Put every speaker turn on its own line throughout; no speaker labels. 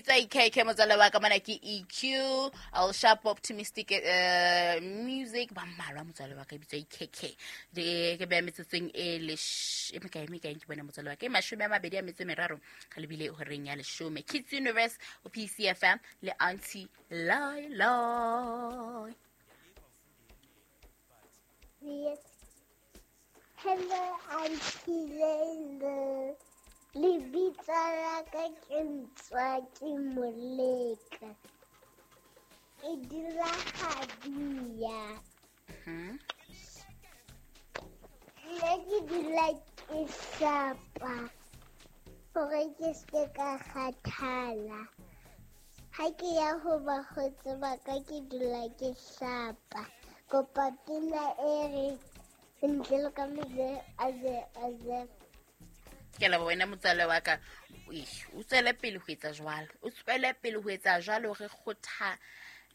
Bitswa IKK motswalle wa ka mona ke EQ Al Sharp Optimistic Music ba mmalwa motswalle wa ka e bitswa IKK. Ke beya metsotsong e e mekae mekae ke bona motswalle wa ka e 23 re lebile horeng ya 10. Kids Universe o PCFM le Auntie Laila.
Yes. Hello, Auntie Leila. Lebitso la ka ke Ntswaki Moleka. Ke dula Gadia. Nna ke dula ke hlapa hore ke se ka kgathala. Ha ke ya ho bakgotsi ba ka ke dula ke hlapa. Kopa pina e re ntle le ka meze aze aze.
Ke leboha wena motswalle wa ka. O tswele pele ho etsa jwalo, o tswele pele ho etsa jwalo. Re kgotha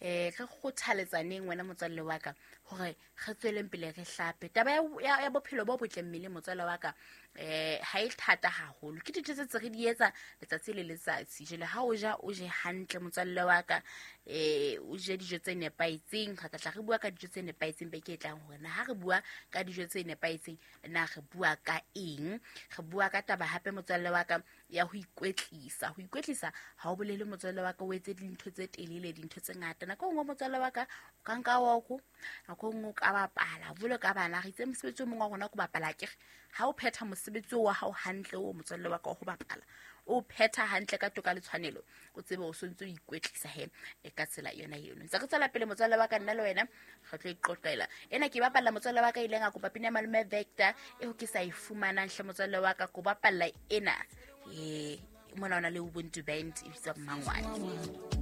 re kgothaletsaneng wena motswalle wa ka hore re tsweleng pele re hlape. Taba ya bophelo bo botle mmeleng motswalle wa ka ha e thata haholo, ke dintho tse tse re di etsa letsatsi le letsatsi. Jwale ha o ja, o je hantle motswalle wa ka, o je dijo tse nepahetseng. Re tla tla re bua ka dijo tse nepahetseng beke e tlang, hore na ha re bua ka dijo tse nepahetseng na re bua ka eng. Re bua ka taba hape motswalle wa ka ya ho ikwetlisa. Ho ikwetlisa ha o bolele motswalle wa ka o etse dintho tse telele, dintho tse ngata. Nako e nngwe motswalle wa ka o ka nka woko, nako e nngwe o ka bapala jwalo ka bana. Re itse mosebetsi o mongwe wa rona ko bapala akere. Ha o phetha mosebetsi wa hao hantle o motswalle wa ka wa ho bapala, o phetha hantle ka toka le tshwanelo, o tsebe o sontse o ikwetlisa he e ka tsela yona eno. Ntse re tswela pele motswalle wa ka, nna le wena re tlo iqoqela. Ena ke bapalla motswalle wa ka ileng a kopa pina ya Malome Vector eo ke sa e fumanang hle motswalle wa ka, ko bapalla ena. Mona o na le Ubuntu Band e bitswa Mmangwane.